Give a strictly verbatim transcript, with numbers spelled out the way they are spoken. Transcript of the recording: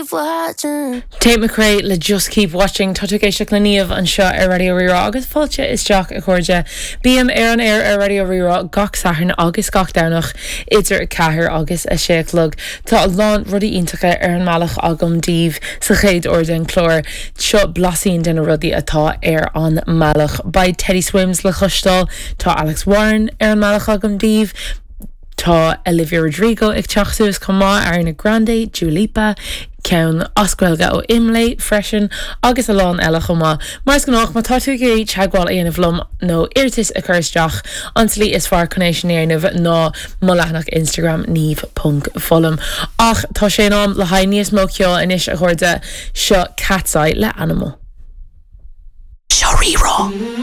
keep watching. Tate McRae le Just Keep Watching tá tú ag éisteacht le Niamh anseo ar Raidió Rí-Rá agus fáilte isteach a chairde. Bím ar an aer ar Raidió Rí-Rá gach Satharn agus gach Domhnach idir a ceathair agus a sé a chlog. Tá a lán rudaí iontacha ar an mbealach agam daoibh sa chéad uair den chlár seo blaisín de na rudaí atá ar an mbealach. Beidh Teddy Swims le cloisteáil tá Alex Warren ar an mbealach agam daoibh, Tá Olivia Rodrigo ag teacht suas chomh maith Ariana Grande, Dua Lipa, ceann as Gaeilge ó Imlé freisin agus a lán eile chomh maith. Mar is gnách má tá tú ag teagmháil a dhéanamh liom nó iarratas a chur isteach an tslí is fearr chun é sin a dhéanamh ná mo leathanach Instagram niamh.fullam. Ach tá sé in am le haghaidh níos mó ceoil anois a chairde seo Katseye le Animal. Seo Rí-Rá.